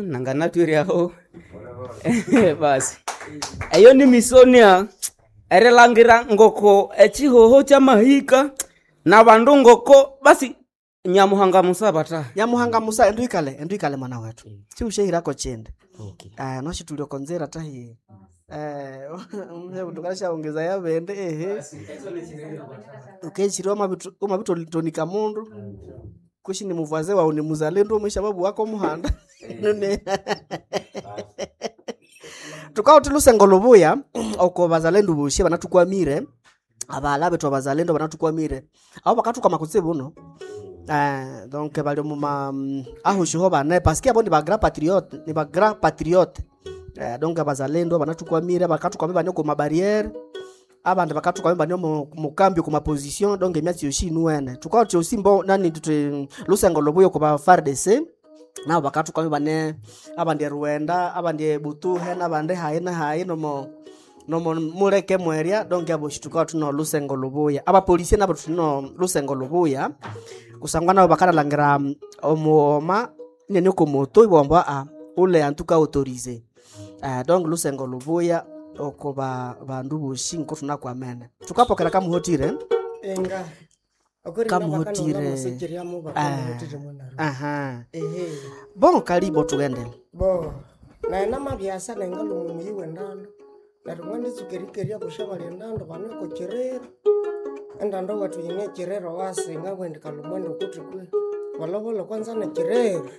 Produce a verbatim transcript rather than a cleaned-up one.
Nanganatwire aho basi eyo ni misonia erilangira ngoko echihoho kyamahika nabandu ngoko basi Nyamuhanga musaba ta Nyamuhanga musa endu ikale endu ikale mwana wetu siushehirako chindi okay. eh, noshitulio konzera tahi eh, tukalashaongeza yabende ehe ukechiri wamabitonika mundu kushi ni muvwaze wawu ni muzalendo umwisha babu wako muhanda nune tukauti lusengo lubuya oko bazalendo boshi banatukwamire abala betu abazalendo banatukwamire abo bakatukwama kutsibu uno Eh, donc bali muma ahushiho bane paske abo ni ba grand patriote ni ba grand patriote eh, donc abazalendo banatukwamire bakatukwamire bane ku mabarriere abandi bakatukwamire bane mu mukambi ku maposition donc emyatsi yoshi inuwene tukauti osi mbo nani tuti lusengo lubuya ku ba FARDC nabo bakatukwamire bane abandi eruwenda abandi ebutuhe nabandi hayi na hayi nomo nomo muleke mweria donc abo shitukawa tuno lusengo lubuya abapolisie nabo tuno lusengo lubuya kusangwa nabo bakanalangira mm, omughoma nene komoto ibwamba a ule antuka autorisé uh, donc lusengo lubuya oko ba bandu boshi nko tunakwamene tukapokera kamuhotire enga Kamuhotire. kamuhotire bakamuhotire mwanaro aha ehe bon kalibo tugendele bo naye namabyasa nengalumu muyi wendando neryo mwanitsukerikeria busha bali endando baneko kiriro endando wethu yine kiriro wasinga wendi kalumwenda ukuthi kwe bolobolo kwanza nekiriro